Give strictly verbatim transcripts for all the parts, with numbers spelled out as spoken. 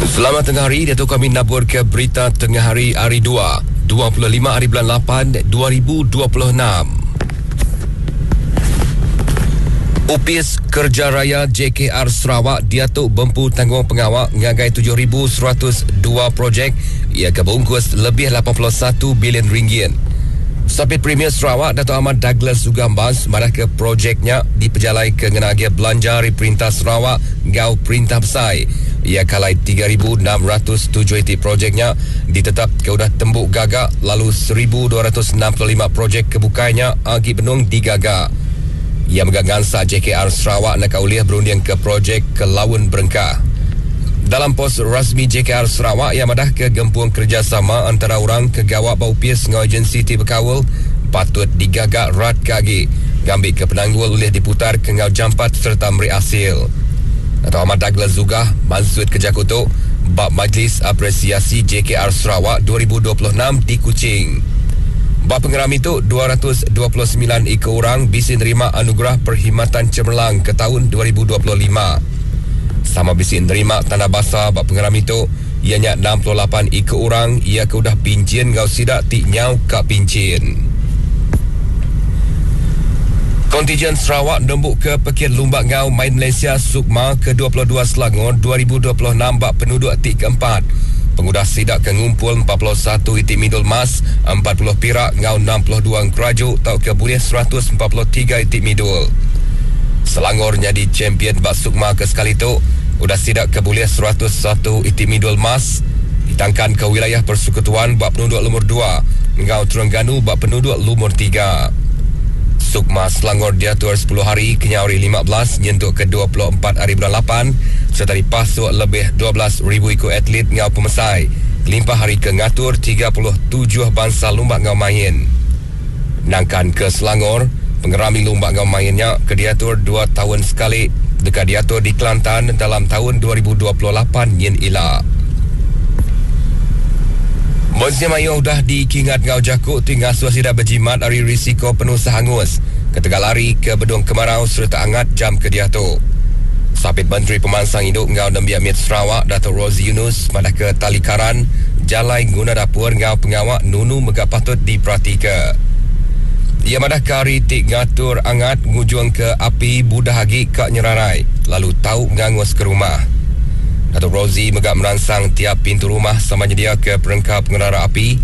Selamat tengah hari, diatu kami nabur ke berita tengah hari hari dua, dua puluh lima hari bulan lapan, dua ribu dua puluh enam. Upis Kerja Raya J K R Sarawak diatu bempu tanggung pengawak ngagai tujuh ribu seratus dua projek ia kebungkus lebih lapan puluh satu bilion ringgit. Sapit Premier Sarawak Dato' Ahmad Douglas Uggah Embas madah ke projeknya dipejalai ke ngenagi belanja dari Perintah Sarawak ngau Perintah Besar. Ia kalai tiga ribu enam ratus tujuh itik projeknya ditetap ke udah tembuk gagak lalu seribu dua ratus enam puluh lima projek kebukainya agi benung digagak. Ia megang gansa J K R Sarawak nak uliah berunding ke projek ke Laun Berengkah. Dalam pos rasmi J K R Sarawak yang madah ke gempung kerjasama antara orang ke gawak bau pies ngau agensi ti berkawal patut digagak rat kagi ngambil ke penanggul ulih diputar ke ngau jampat serta meri hasil. Dato' Ahmad Douglas Uggah maksud kerja kutuk bab Majlis Apresiasi J K R Sarawak dua ribu dua puluh enam di Kuching. Bab pengeram itu dua ratus dua puluh sembilan ekor orang bisa nerima anugerah perkhidmatan cemerlang ke tahun dua ribu dua puluh lima. Sama bisa nerima tanda basa bab pengeram itu ianya enam puluh lapan ekor orang ia ke udah pincin ngau sidak ti nyau ka pincin. Kontijen Sarawak nembuk ke Pekit Lumbak Ngau Main Malaysia Sukma ke dua puluh dua Selangor dua ribu dua puluh enam bab penduduk ti keempat. Pengudah sidak ke ngumpul empat puluh satu itik midul emas, empat puluh pirak ngau enam puluh dua engkeraju tau ke bulih seratus empat puluh tiga itik midul. Selangor jadi champion bak Sukma ke sekali tu, udah sidak ke bulih seratus satu itik midul emas, ditangkan ke wilayah persekutuan bak penduduk lumur dua, ngau Terengganu bak penduduk lumur tiga. Sukma Selangor diatur sepuluh hari kenyauri lima belas nyentuk ke dua puluh empat hari bulan lapan serta dipasuk lebih dua belas ribu ikut atlet ngau pemesai. Kelimpah hari ke ngatur tiga puluh tujuh bangsa lumbak ngau main. Nangkan ke Selangor, pengerami lumbak ngau mainnya ke diatur dua tahun sekali dekat diatur di Kelantan dalam tahun dua ribu dua puluh lapan yen ila. Mensia Mayu dah dikingat ngau jakuk tinggal suasida berjimat dari risiko penuh sehangus. Ketegal lari ke Bedung Kemarau serta hangat jam ke diatu. Sapit Menteri Pemansang Hidup ngau Nembiak Mit Sarawak Dato' Rosey Yunus madah ke tali karan jalai guna dapur ngau pengawak nunu megak patut diperhatika. Ia madah ke hari tik ngatur angat ngujung ke api budah agi kak nyerarai lalu tau ngangus ke rumah. Dato' Rosey megak merangsang tiap pintu rumah sama nyedia ke perengkap pengerara api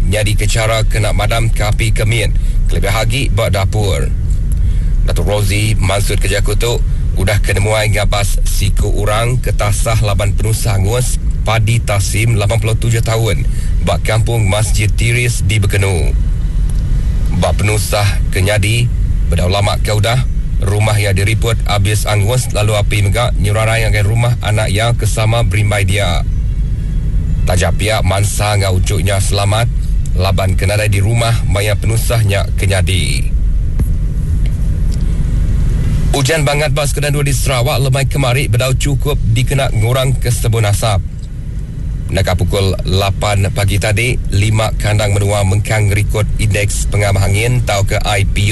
nyadi ke cara kena madam ke api kemit kelebih agi bak dapur. Dato' Rosey maksud kerja kutuk udah kenemuai ngabas siku orang ke tasah laban penusah angus Padi Tasim lapan puluh tujuh tahun bak kampung Masjid Tiris di Bekenu. Bak penusah kenyadi bedau lama ke udah rumah yang diriput habis angus lalu api megak nyurarai ngagai rumah anak yang kesama berimbai dia. Tajak pihak mansa ngau ucuknya selamat laban kenadai di rumah maya penusahnya kenyadi. Hujan bangat bas kena dua di Sarawak lemai kemari bedau cukup dikena ngurang ke sebun asap. Naka pukul lapan pagi tadi, lima kandang menua mengkang rekod indeks pengamah angin tau ke I P U